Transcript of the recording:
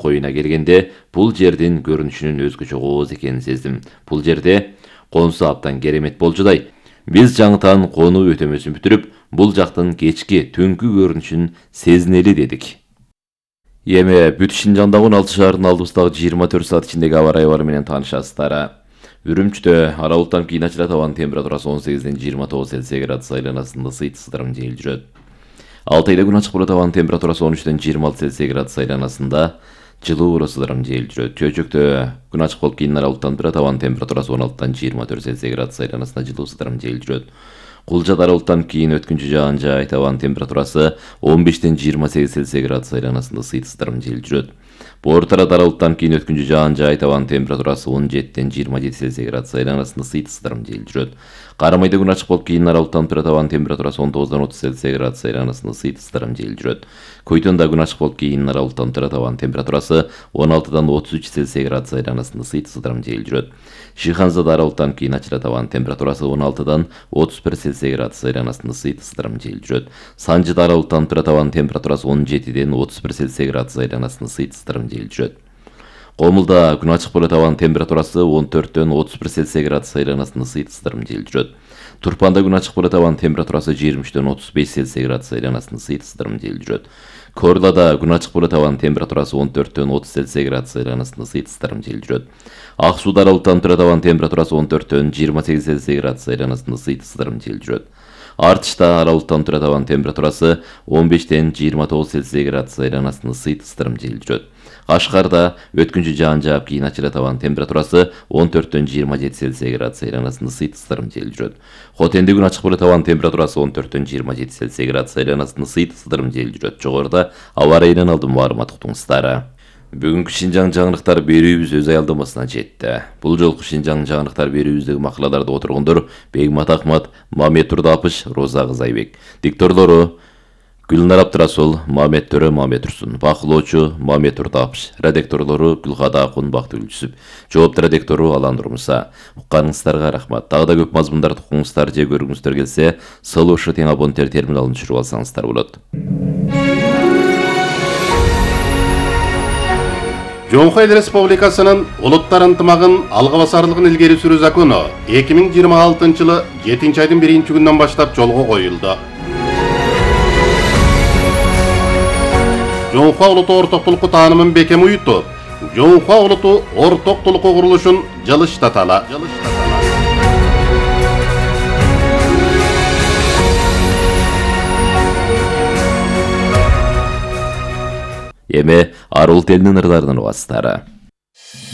Коюна келгенде, бул жердин көрүнүшүнүн өзгөчө кооз экенин сездим. Бул жерде конусу абдан керемет болчудай. Биз жаңытан конуу өтөмөсүн бүтүрүп, бул жактын кечки түнкү көрүнүшүн сезинели дедик. Эми бүт Шинжаңдагы 16 шаардын алдыбыздагы 24 саат ичиндеги аба ырайы менен таанышасыздар. Үрүмчүдө ара булуттанып кийин ачылат, абанын температурасы 18-ден 29 Цельсий градус айланасында ысыйт, ысырым жел жүрөт. Алтайда күн ачык болот, абанын температурасы 13-ден 26 Цельсий градус айланасында жылуу ысырым жел жүрөт. Чөйчөктө күн ачык болуп кийин ара булуттанып турат, абанын температурасы 16-дан 24 Цельсий градус айланасында жылуу ысырым жел жүрөт. Кулжада ара булуттанып кийин өткүнчү жаан жаайт, абанын температурасы 15-ден 28 Цельсий градус айланасында ысыйт, ысырым жел жүрөт. Боортарада ара булуттанып кийин өткүнчү жаан жаайт, абанын температурасы 17-ден 27 Цельсий градус айланасында ысыйт, ысырым жел жүрөт. Карамайда күн ачык болуп кийин ара булуттанып турат, абанын температурасы 19-дан 30 Цельсий градус айланасында ысыйт, ысырым жел жүрөт. Көйтөндө күн ачык болуп кийин ара булуттанып турат, абанын температурасы 16-дан 33 Цельсий градус айланасында ысыйт, ысырым жел жүрөт. Шиханзада ара булуттанып кийин ачылат, абанын температурасы 16-дан 31 Цельсий градус айланасында ысыйт, ысырым жел жүрөт. Санжыда ара булуттанып турат, абанын температурасы 17-ден 31 Цельсий градус айланасында ысыйт, ысырым жел жүрөт. Комулда күн ачык болот, абанын температурасы 14-ден 31 Цельсий градус айланасында ысыйт, ысырым жел жүрөт. Турпанда күн ачык болот, абанын температурасы 23-ден 35 Цельсий градус айланасында ысыйт, ысырым жел жүрөт. Корлада күн ачык болот, абанын температурасы 14-ден 30 Цельсий градус айланасында ысыйт, ысырым жел жүрөт. Ак сууда ара булуттанып турат, абанын температурасы 14-ден 28 Цельсий градус айланасында ысыйт, ысырым жел жүрөт. Артышта ара булуттанып турат, абанын температурасы 15-ден 29 Цельсий градус айланасында ысыйт, ысырым жел жүрөт. Кашкарда өткүнчү жаан жаап кийин ачылат, абанын температурасы 14-ден 27 Цельсий градус айланасында ысыйт, ысырым жел жүрөт. Хотенде күн ачык болот, абанын температурасы 14-ден 27 Цельсий градус айланасында ысыйт, ысырым жел жүрөт. Жогоруда аба ырайынан алдым маалымат уктуңуздар. Бүгүнкү Шинжаң жаңылыктар берүүбүз өз аялдамасына жетти. Бул жолку Шинжаң жаңылыктар берүүбүздөгү макалаларды отургондор Бегмат Ахмат, Мамет Турдапыш, Роза Кызайбек. Дикторлору Гүлнар Абдрасул, Мамет Төрө, Мамет Турсун. Бакылоочу Мамет Турдапыш. Редакторлору Гүлкада Акун, Бактыгүл Жүсүп. Жоопту редактору Алан Нурмуса. Укканыңыздарга рахмат. Дагы да көп мазмундарды укуңуздар же көргүңүздөр келсе, Солошу тең абоненттер терминалын түшүрүп алсаңыздар болот. Жоңхой Республикасынын улуттар ынтымагын алга басарлыгын илгери сүрүү закону 2026 жылы 7-айдын 1-күнүнөн баштап жолго коюлду. Жоңхо улуту ортоктулукку таанымын бекем уютуп, Жоңхо улуту ортоктулукку курулушун жылыштаталы. Эми ар улут элинин ырдаарынан угасыздар.